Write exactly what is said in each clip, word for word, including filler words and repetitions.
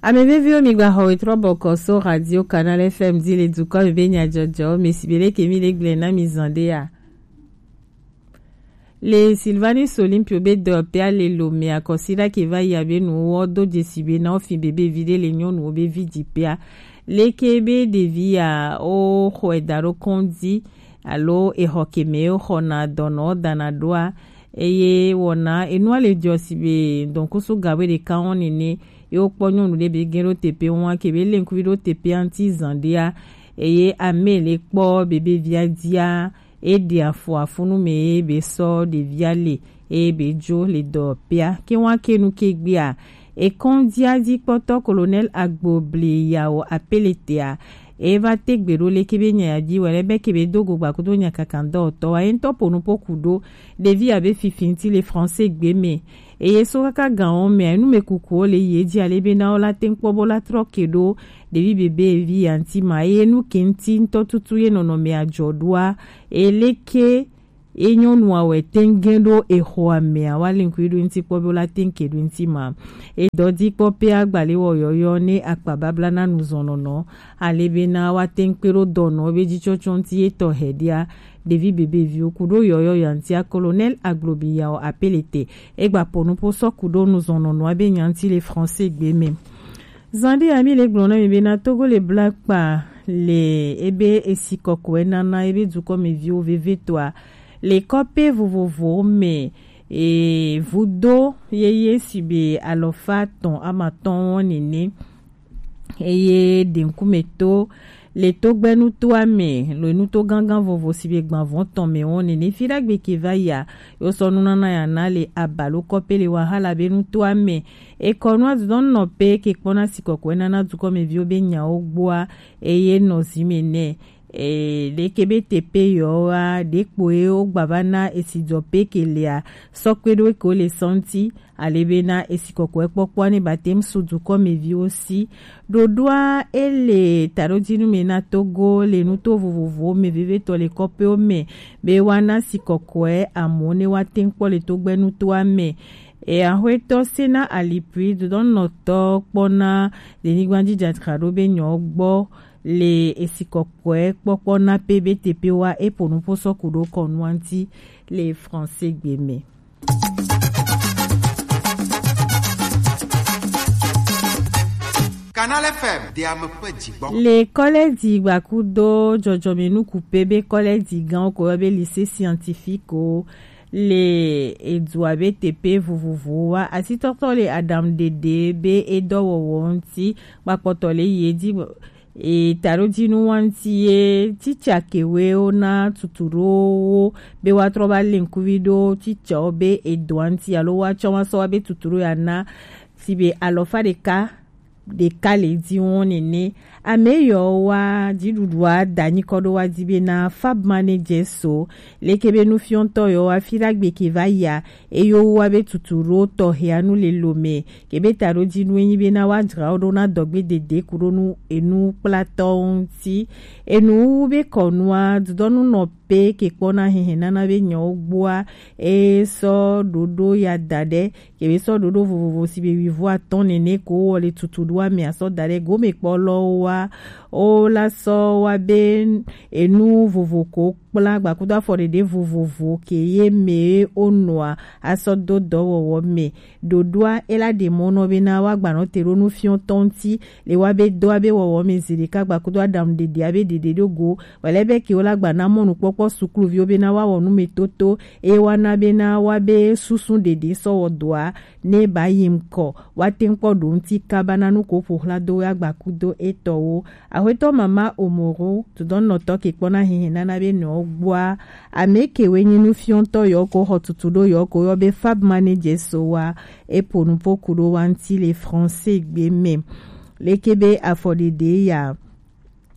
Ame veviwo, mi gba xɔ wetrɔ bɔkɔ so Radio Canal F M di le dukɔ me be nyajɔjɔ me si be leke mi le gblẽ na mi zan ɖe ya. Le Sylvanus Olympio be dɔyɔpea le lo me akɔsi ɖa ke va yi abe nuwo do dzesi be na wofi be be vi ɖe le nyɔnuwo be vi dzi pea. Leke be ɖevi ya wo xɔe da ɖo kɔndzi alo exɔ ke me wo xɔna dɔnɔ dana ɖoa, eye wɔna enua le dzɔ si be dɔnkusu gawe ɖeka wɔn nene, ye wokpɔ nyɔnu ɖe be gẽ ɖo teƒe wɔn ke be le ŋkuvi ɖo teƒea ŋuti zan ɖea, eye ame le kpɔ be be via dzia, eɖe afɔ afunu me ye be sɔ ɖevia le, eye be dzo le dɔyɔpea. Ke wɔn ke nu ke gbea, ekɔndzia dzi kpɔtɔ Colonel Agbo Bli Yawo Apeletea, eva te gbe ɖo leke be nya ya dzi wɔ le be ke be do go gba kudo nya kaka dɔwɔtɔ wa ye ŋutɔ po nu po ku ɖo ɖevi abe fifi ŋuti le français gbe me. Eye so kaka gan wo me, enu me kukuwo le yi edzi ale be na wo la te ŋu kpɔ bo la trɔ ke ɖo ɖevi bebe vi ya ŋuti ma. Eye nu ke ŋuti ŋutɔ tutu ye nɔnɔme adzɔ ɖoa, eleke ye nyɔnua wɔ te ŋu gẽ ɖo exɔa mea, wa le ŋkui ɖo ŋuti kpɔ be wo la te ŋu ke ɖo ŋuti ma. Edɔ di kpɔ pe agbale wɔ yɔyɔ ne akpa babla na nuzɔnɔnɔ, ale be na wa te ŋu kpe ɖo dɔnɔ be dzi tsɔtsɔ ŋuti ye tɔ hɛ ɖia, ɖevi bebe viwo ku ɖo yɔyɔ ya ŋutia. Colonel Aglobi Yawo Apelete, egba po nupo sɔ ku ɖo nuzɔnɔnɔa be nya ŋuti le français gbe me. Zan ɖe ya mi le gblɔ na mi be na Togo le bla kpa le ebe esi kɔkɔe nana ebe dukɔmeviwo vevetɔa le kɔpe vovovowo me, e, vudo yeye si be alɔfa atɔn amatɔn wɔn nene, eye ɖenkume to le togbɛnutoa me, lo nuto gangan vovo si be gbanvɔn tɔn me wɔn nene. Fi ɖagbe ke va ya, yo sɔ nunana ya na le abalo kɔpe le wahala be nutoa me. Ekɔ nua dudɔn nɔ pe ke kpɔna si kɔkɔe nana dukɔmeviwo be nyawo gbɔa, eye nɔ zi me nɛ. E, ɖeke be te pe yɔ wa, ɖe kpo ye wo gba va na esi dzɔ pe ke lea, sɔ kpe ɖo ke wo le sɔnti, ale be na esi kɔkɔe kpɔkpɔa ne ba te ŋu su dukɔmeviwo si. Ɖoɖoa ele taɖodinu me na Togo le nuto vovovowo me vevetɔ le kɔpewo me be wa na si kɔkɔe amewo ne wa te ŋu kpɔ le togbɛnutoa me. E, axwetɔ Sena Alipui dodɔnɔtɔ kpɔna le nyigba dzi dzadzraɖo be nyɔ gbɔ le esi kɔkɔe kpɔkpɔ na pe be teƒe wa eƒo nuƒo sɔ ku ɖo kɔnua ŋuti le français gbe me. Canal F M, de ame ƒe dzigbɔ. Le kɔlɛdzi gbakudo dzɔdzɔmenukupe be kɔlɛdzi gãwo ko yɔ be lycée scientifique o, le edua be teƒe vovovowo wa asitɔtɔ le aɖaŋuɖeɖe be edɔwɔwɔ ŋuti kpakpɔtɔ le yi edzi. E, taɖodinu wa ŋuti ye titsa kewe wo na tutu ɖo wo be wa trɔ va le ŋkuvi ɖo titsawo be edɔa ŋuti alo wa tsɔ wa sɔ wa be tutu ɖo ya na si be alɔfa ɖeka ɖeka le dzi wo nene. Ame yɔ wa dziɖuɖua da nyikɔ ɖo wa di be na fab manager so leke be nufiɔntɔ yɔ wa fi ɖagbe ke va ya, eyo wa be tutu ɖo tɔxɛa nu le lo me, ke be taɖodinu enyi be na wa dzra wo ɖo na dɔgbe dede ku ɖo nu enu kplatɔ ŋuti. Enu wu be kɔnua dudɔnu nɔ pe ke kpɔna hehe nana be nyɔwo gbɔa, e sɔ ɖoɖo ya da ɖe, ke be sɔ ɖoɖo vovovo si be wivo atɔn nene ko wɔ le tutu ɖoa me asɔ da ɖe gome kpɔlɔwo wa, o la sɔ wa be enu vovo ko kpla gbakudo afɔɖeɖe vovovo ke ye me o nɔa asɔ do dɔwɔwɔ me. Ɖoɖoa ela ɖe mɔ nɔ be na wa gbanɔ te ɖo nufiɔntɔ ŋuti le wa be dɔa be wɔwɔ me zi ɖeka gbakudo aɖaŋuɖeɖea be ɖeɖe ɖo go. Wɛlɛ be ke wo la gba na mɔnukpɔkpɔ sukluviwo be na wa wɔ nu me toto, eye wa na be na wa be susu ɖeɖe sɔ wɔ dɔa ne ba yi ŋkɔ, wa te ŋu kpɔ ɖo ŋuti kaba na nu ko ƒo xla do ya gbakudo etɔwo. Axwetɔ mama Omoro, dodɔnɔtɔ ke kpɔna hehe nana be nɔ gbɔa, ame ke we nyi nufiɔntɔ yɔ ko xɔ tutu ɖo yɔ ko yɔ be fab manager so wa, epo nupo ku ɖo wa ŋuti le français gbe me. Leke be afɔɖeɖe ya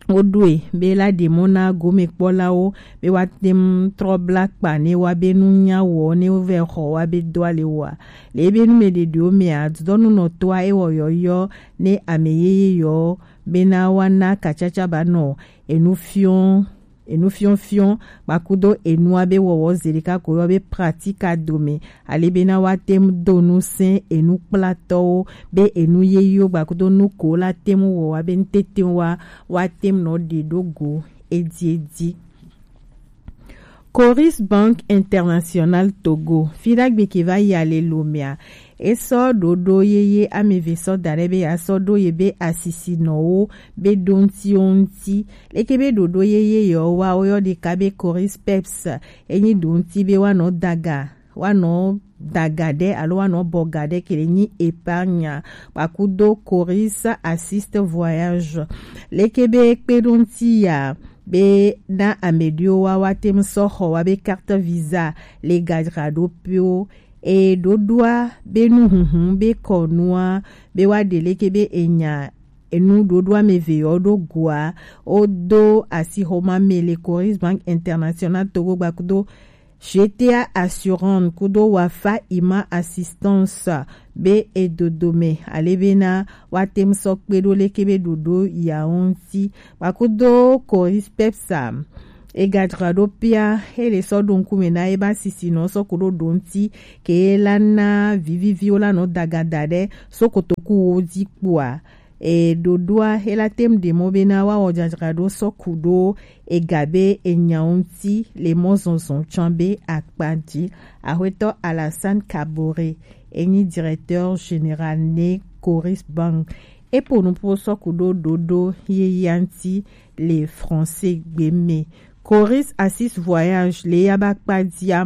wo ɖoe be la ɖe mɔ na gomekpɔlawo be wa te ŋu trɔ bla kpa ne wa be nu nya wɔ ne wo vɛ xɔ wa be dɔa le wɔa. Le ebe nu me ɖeɖewo mea, dudɔnunɔtɔa ewɔ yɔyɔ ne ame yeye yɔ bena wa na katsatsa ba nɔ enu fiɔ enu fiɔfiɔ kpakudo enua be wɔwɔ zeɖeka ko yɔ be pratika dome, ale bena woate ŋu do nu sɛn enukplatɔwo be enu yeyewo kpakudo nu ko la te ŋu wɔ wa be nutete wa woate ŋu nɔ ɖe ɖo go ediedi. Coris Bank International Togo, fi ɖagbe ke va yi ale lomea, e sɔ ɖoɖo yeye ameve sɔ da ɖe be ya sɔ ɖo ye be asisinɔwo be ɖo ŋti wo ŋti. Leke be ɖoɖo yeye yewo wa wo yɔ ɖeka be Coris Peps, enyi ɖo ŋti be wa nɔ daga wa nɔ daga ɖe alo wa nɔ bɔga ɖe ke le nyi épargne kpakudo Coris Assist Voyage. Leke be kpe ɖo ŋti ya be na ame ɖewo wa wa te ŋu sɔ xɔ wa be carte visa le gadzraɖo ƒewo. E ɖoɖoa be nuhuhu be kɔnua be wa ɖe leke be enya enu ɖoɖo ameve yɔ ɖo goa, o do asixɔma me le Coris Bank International Togo gbakudo G T A Assurance kudo Wafa Ima Assistance be e dodo me ale bena wa te ŋu sɔ kpe ɖo leke be ɖoɖo ya wo ŋti. Kpakudo Coris Peps a, e gadzraɖo pia e le sɔ ɖo ŋkume na e ba sisinɔ sɔ kudo ɖo ŋti ke la na viviviwo la nɔ daga da ɖe so kotoku wo dzi kpoa. E ɖoɖoa e la te ŋu ɖe mɔ bena wa wɔ dzadzraɖo sɔ kudo ega be enyawo ŋti le mɔ zɔzɔ tsã be akpa dzi. Axwetɔ Alassane Kabore, enyi directeur général ne Coris Bank, e po nuƒo sɔ kudo ɖoɖo yeyea ŋti le français gbe me. Coris Assist Voyage le ya ba kpa dzia,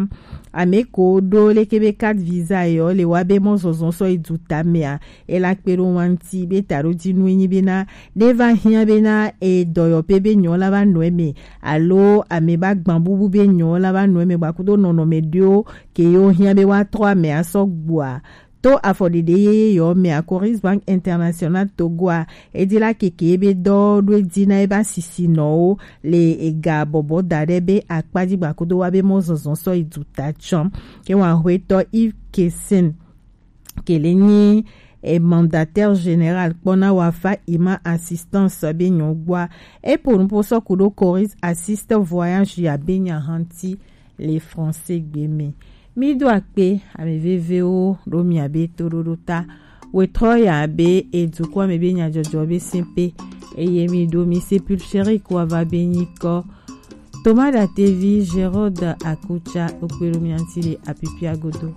ame ko ɖo leke be carte visa yɔ le wa be mɔ zɔzɔ sɔ yi du tamea, e la kpe ɖo wa ŋti be taɖo dzi nu enyi bena ne va hiã bena e dɔyɔƒe be nyɔ la va nɔ eme alo ame ba gbã bubu be nyɔ la va nɔ eme gbakudo nɔnɔme ɖewo ke yewo hiã be wa trɔ ame asɔ gbɔa. To afɔɖeɖe yeye yɔ mea, Coris Bank International Togoa e di la keke be dɔ ɖo e di na e ba sisinɔwo le ega bɔbɔ da ɖe be akpa dzi gbakudo wa be mɔ zɔzɔ sɔ yi du ta tsã. Ke wa hwetɔ Yves Kessin ke le nyi e mandataire général kpɔna Wafa Ima Assistance be nyɔgbɔa, e po nuƒo sɔ kudo Coris Assist Voyage ya be nya hã ŋti le français gbe me. Mi do akpe ame vevewo ɖo mia be toɖoɖo ta. Wetrɔ ya be e dukɔ me be nyadzɔdzɔ be simpe eye mi ɖo mi sépulchre ko ava be nyikɔ. Thomas Datevi, Gérard Akucha, okpe ɖo mia ŋti le apipia godo.